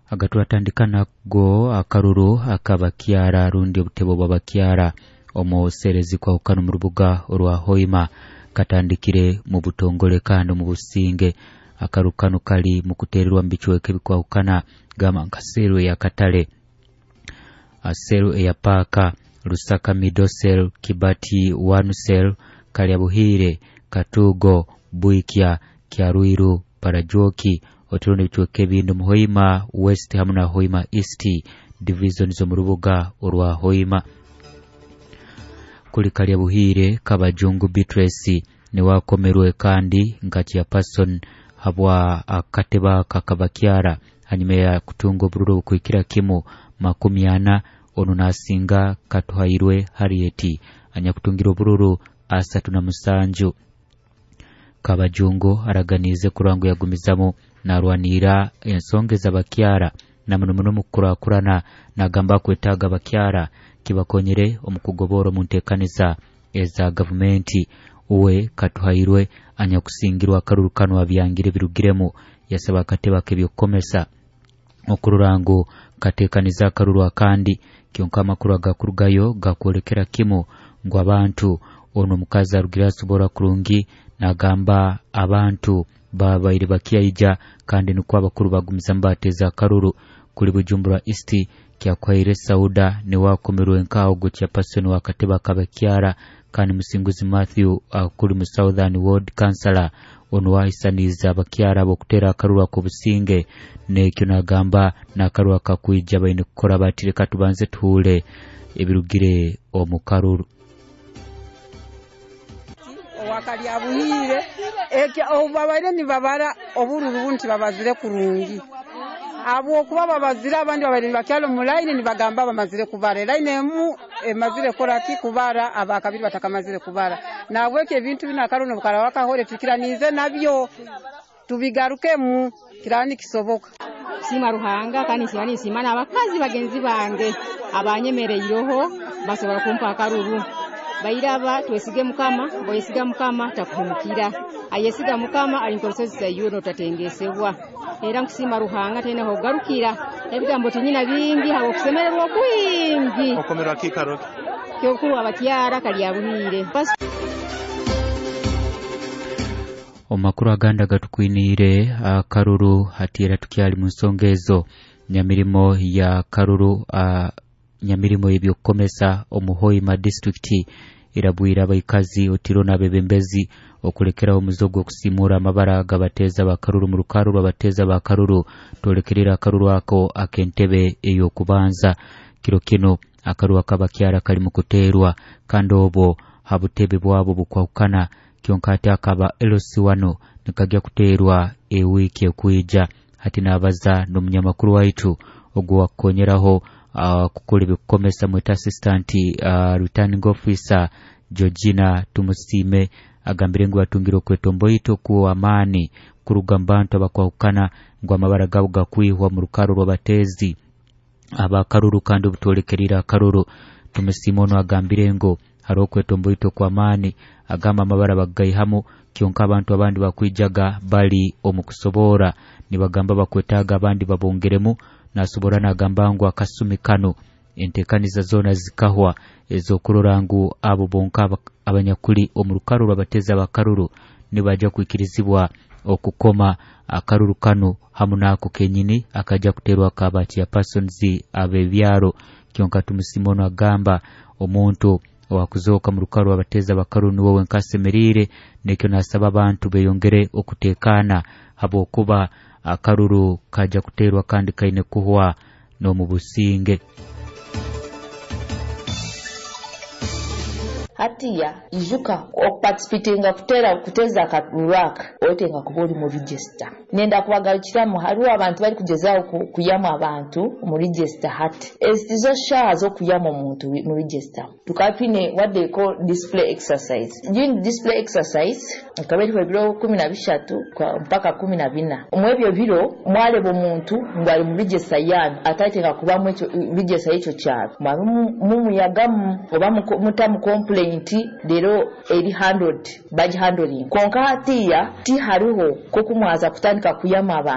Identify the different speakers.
Speaker 1: Agatwatandika nago akaruru akabakyara rundi obutebo bw'abakyara omu serezi kwahukana omu rubuga orwa Hoima katandikire mu butongole kandi mu businge. Akaru kano kali mu kutererwa mu bicweka ebikwahukana gamba nka seru eya Katale, seru eya Paaka, Lusaka Middle Cell, Kibati One Cell, Kalyabuhire, Katugo, Bwikya, Kyarwiru, Parajoki, oturundi ebicweka ebindi mu Hoima West hamu na Hoima East division z'omu rubuga orwa Hoima. Kuli Kalyabuhire, Kabajungu Beatrice niwakomerwe kandi nka chairperson habwa akateba kakabakyara hanyuma ya kutunga obururu obukwikira kimu 40. Onu nasinga Katuhairwe Harriet anyakutungira obururu 37. Kabajungu araganize kurangu yagumizamu narwanira ensonga z'abakyara na muno muno mukurakurana, nagamba kwetaaga abakyara kibakonyere omu kugobora omu nteekaniza eza gavumenti. Uwe Katuhairwe anyakusingirwa akaruru kano abyangire birugiremu, yasaba akatebe k'ebyokukomesa okurora ngu kateekaniza akaruru akandi. Kyonka amakuru agakurugayo gakwolekera kimu ngu abantu ono omukazi arugire asobora kurungi, nagamba abantu babaire bakyaija kandi nikwo abakuru bagumizamu bateeza akaruru. Kuli Bujumbura East Kyakwaire Sauda niwakomerwe nkaho ogwo chairperson wa katebe akabakyara, kandi Musinguzi Matthew kuli mu Southern Ward Councillor ono wahisaniza abakyara ab'okutera akaruru ak'obusinge, nekyo nagamba n'akaruru akakwija baine kukora bati reka tubanze tuhuule ebirugire omu karuru.
Speaker 2: Owakalyabuhire obu babaire nibabara obururu bunti babazire kurungi, habwokuba babazire abandi babaire nibakyala omu layini nibagamba bamazire kubara elayini emu emazire koraki kubara abakabiri batakamazire kubara. Nahabwekyo ebintu binu akaruru nobukaraba kahore tukiranize nabyo tubigarukemu kiraba nikisoboka.
Speaker 3: Siima Ruhanga kandi nsiima ninsiima n'abakazi bagenzi bange abanyemereireho basobora kumpa akaruru. Bairaba twesige Mukama, bwesiga Mukama takuhemukira, ayesiga Mukama ali nk'orusozi Sayuni otatengesebwa. Era nkusiima Ruhanga taine hokugarukira, ebigambo tinyina bingi habw'okusemererwa okwingi.
Speaker 4: Okomerwa kiikaro ki?
Speaker 3: Kyokuru abakyara Kalyabuhire.
Speaker 1: Omu makuru agandi agatukwiniire akaruru hati era tukyali mu nsonga ezo nyamirimo ya karuru, nyamirimo y'ebyokukomesa omu Hoima district irabwire abaikazi otiro n'abebembezi okulekeraho omuzo gw'okusimura amabara g'abateeza bakaruru mu rukaru rw'abateeza bakaruru twolekerera akaruru ako ak'entebe ey'okubanza. Kiro kino akaruru akabakyara kali mu kuteerwa kandi obwo ha butebe bwabo bukwahukana, kyonka ate akaba LC1 nikajya kuteerwa ewiiki ekwija. Hati nabaza n'omunyamakuru waitu ogwo wakukonyeraho kukora ebyokukomesa mweta assistant returning officer Georgina Tumusiime agambire ngu batungire okwetomboita okuw'amaani kuruga mu bantu abakwahukana ngu amabara gabo gakwihwa mu rukaru rw'abateezi abakaruru kandi obutwolekerire akaruru. Tumusiime ono agambire ngu hariho okwetomboita okw'amaani, agamba amabara bagaihamu kyonka abantu abandi bakwijaga bali omu kusobora nibagamba bakwetaaga abandi babongeremu. Nasobora nagamba ngu akasumi kano enteekaniza zoona zikahwa ez'okurora ngu abo bonka abanyakuli omu rukaru rw'abateezi abakaruru nibaja kwikirizibwa okukoma akaruru kano hamu n'ako kenyini akajja kuteerwa akaba chairpersons ab'ebyaro. Kyonka Tumusiime ono agamba omuntu owakuzooka mu rukaru rw'abateezi abakaruru niwe wenka asemeriire, nekyo nasaba abantu beyongere okuteekaana habwokuba akaruru kajja kuteerwa kandi kaine kuhwa n'omu businge.
Speaker 5: Hatiya ijuka okuparticipatinga kutera kuteza akaruru aka otenga kuba ori mu register. Nenda kubagarukiramu hariho abantu bari kugezaho kuyamu abantu mu register. Hati ezi tizo shaha z'okuyamu omuntu mu register. Tukaba twine what they call display exercise. During display exercise ikaba eriho ebiro 13 mpaka 14. Omu ebyo biro mwareba omuntu ngu ari mu register yanyu atatenga kubamu ekyo register y'ekyo kyaro, mwabe mumuyagamu oba mutamu complaint rero eri handled bagihandling. Konka hatiya tihariho kokumwaza kutandika kuyama abantu.